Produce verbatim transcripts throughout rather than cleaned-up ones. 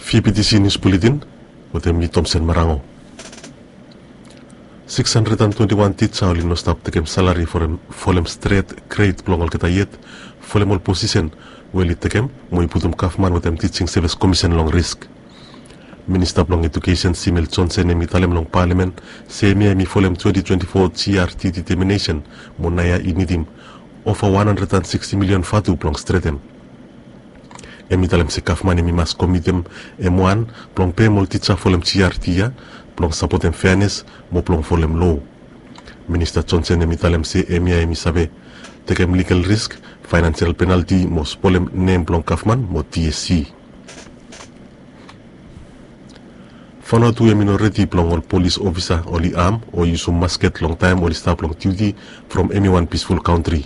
V P T C News Bulletin, wetem mi Tomsen Marango. Six hundred and twenty-one tija oli no stap tekem salari folem, folem stret gred blong olgeta yet, folem ol posisen we oli tekem, mo i putum gavman wetem Teaching Service Commission long risk. Minista blong Edukesen Simel Johnson hemi talem long palamen se hemia hemi folem twenty twenty-four G R T deteminesen, mo naoia i nidim ova one hundred and sixty milion vatu blong stretem. Hemi talem se gavman hemi mas komitem hem wan blong pem ol tija folem G R T ya, blong sapotem feanes mo blong folem loa. Minista Johnson hemi talem se hemia hemi save tekem ligal risk, faenansial penalti mo spolem nem blong gavman mo T S C. Vanuatu hemi no redi blong ol polis ofisa oli am o yusum masket long taem oli stap long diuti from hemi wan pisful kantri.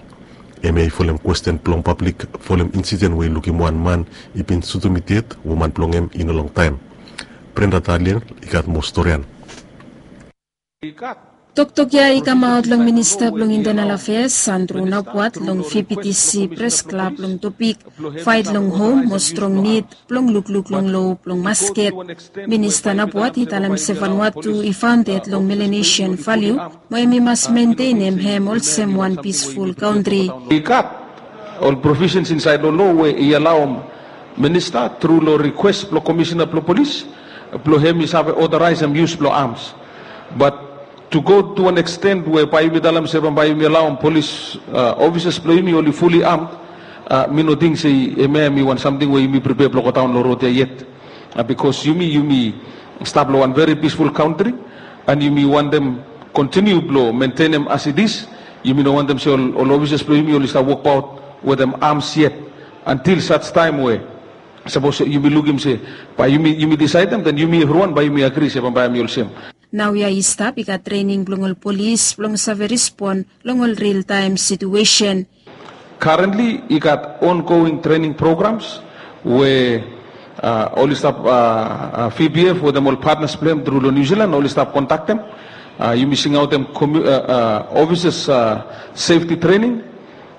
Hemia i folem kwesten blong pablik folem insiden we i lukim wan man i bin sutum i ded, woman blong hem i no longtaem. Brenda Daliel i gat moa storian. Toktok ya i kamaot long Minista blong Internal Affairs, Andrew Napuat, long V P T C Press Club long topik Fight long Home mo Strong Nid blong lukluk long loa blong masket. Minista Napuat i talem se Vanuatu i faonded long Melanesian valiu, mo hemi mas mentenem hem olsem wan pisful kantri. I gat ol provisens insaed long loa we i alaoem minista tru long rikwes blong komisena blong polis blong hem i save otoraesem yus blong ams. Bat to go to an eksten we bae yumi talem se bambae yumi alaoem polis, a, ofisas blong yumi oli fuli amd, a, mi no ting se hemia hemi wan samting we yumi pripea blong godaon long rod ya yet. A, bikos yumi, yumi stap long wan veri pisful kantri, an yumi wantem kontiniu blong mentenem as it is. Yumi no wantem se ol, ol ofisas blong yumi oli stap wokbaot wetem ams yet, antil saj taem we sapos yumi lukim se bae yumi, yumi disaedem, den yumi evriwan bae yumi agri se bambae hemi olsem. Naoia i stap i gat trening blong ol polis blong save respon long ol ril taem situesen. Currently i gat ongoing training programs we, a, oli stap, a, a, V P F wetem ol patnas blong hem tru long New Zealand oli stap kondaktem. A, yumi singaotem komu-, a, a, ofisas, a, sefti trening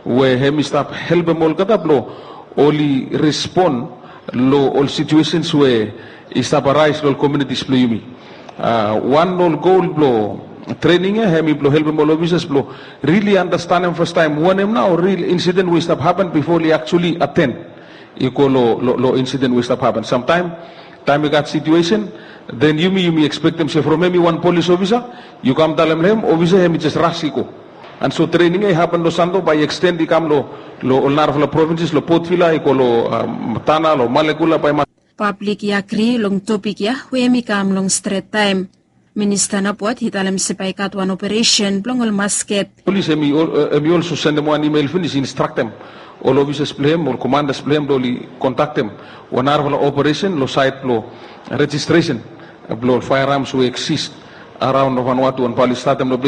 we hemi stap helpem olgeta blong oli respon long ol situesens we i stap araes long ol komunitis blong yumi. A, wan long ol gol blong trening ya hemi blong helpem ol ofisas blong rili andastanem fastaem wanem nao ril insiden we i stap hapen bifo oli aktuali aten i go long, long, long insiden we i stap hapen. Samtaem, taem i gat situesen, den yumi, yumi ekspektem se from hemi wan polis ofisa, yu kam talem long hem, ofisa hemi jes ras i go. An so trening ya i hapen long Santo, bae i eksten i kam long, long ol narafala provinses, long Port Vila, i go long, a, Tana, long Malekula, bae i mas. Pablik i agri long topik ya we hemi kam long stret taem. Minista Napuat i talem se bae i gat wan operesen blong ol masket. Polis hemi ol-, e, hemi olso sendem wan imel finis instraktem ol ofisas blong hem, ol komandas blong hem blong oli kondaktem wan narafala operesen long saed blong rejistresen blong ol faearams we i eksis araon long Vanuatu, an bae oli statem long